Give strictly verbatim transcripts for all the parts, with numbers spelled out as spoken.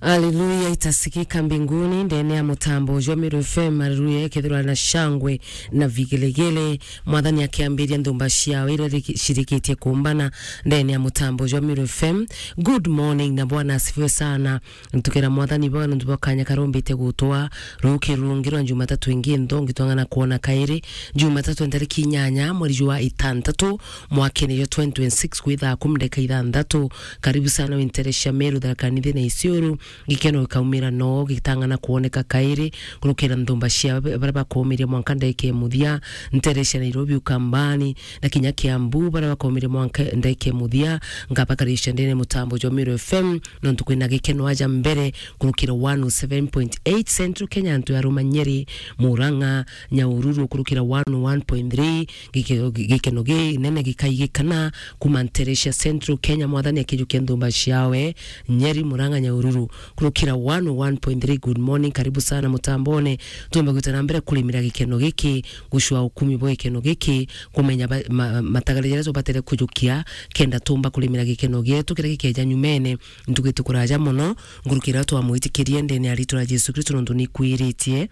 Haleluya, itasikika mbinguni, ndene ya mutambo jwa Meru F M, haleluya, ikethirwa na shangwe na vigelegele. Mwathani akiambiria nthumba ciao iria riki-, cirikitie kumbana ndene ya mutambo jwa Meru F M. Good morning na Bwana asifiwe sana. Ntukira Mwathani bwa nuntu bwa kanya karombite gutwa ruki rungi rwa Jumatatu ingi nthongi twang'ana kwona kairi. Jumatatu ntariki inyanya mweri jwa itantatu mwakene jwa twenty twenty-six kwi thaa kumi ndeka ithanthatu. Karibu sana winterecia Meru, Tharaka Nithi na Isiolo. Gikeno gikaumira no gitang'ana kwoneka kairi kurukira nthumba cia baria bakomiria mwanka ndeke muthia, nterecia Nairobi, Ukambani na kinya Kiambu, baria bakomiria mwanka ndeke muthia. Ngabakaricia ndene mutambo jwa Meru F M, nontu kwina gikeno aja mbere kurukira one oh seven point eight Central Kenya, antu ya Roma, Nyeri, Murang'a, Nyahururu kurukira one oh one point three. Gike-, gikeno ginene gikaigikana kuma nterecia Central Kenya, Mwathani akijukia nthumba ciawe, Nyeri, Murang'a, Nyahururu, kurukira one oh one point three. Good morning, karibu sana mutambone. Tuomba gwita na mbere kurimira gikeno giki, gucua ukumi bwa gikeno giki, kumenya ba-, ma-, matagare jaria tubatere kujukia, kenda tumba kurimira gikeno gietu kiria gikeja nyumene. Ntugi tukuraja mono, ngurukira twamwitikirie ndene ya ritwa ria Jesu Kristo, nontu nikwiritie.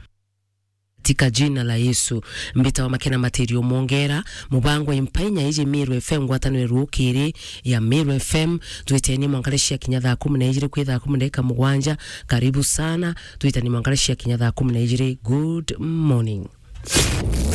Katika jina la Yesu. Mbita wa Makena Matirio Mwongera, mubango wa Impainya iji Meru F M, ngwataniro rukiri ya Meru F M. Twiteni mwanka cia kinya thaa kumi na ijiri kwi thaa kumi na ndeka mugwanja. Karibu sana. Twiteni mwanka cia kinya thaa kumi na ijiri. Good morning.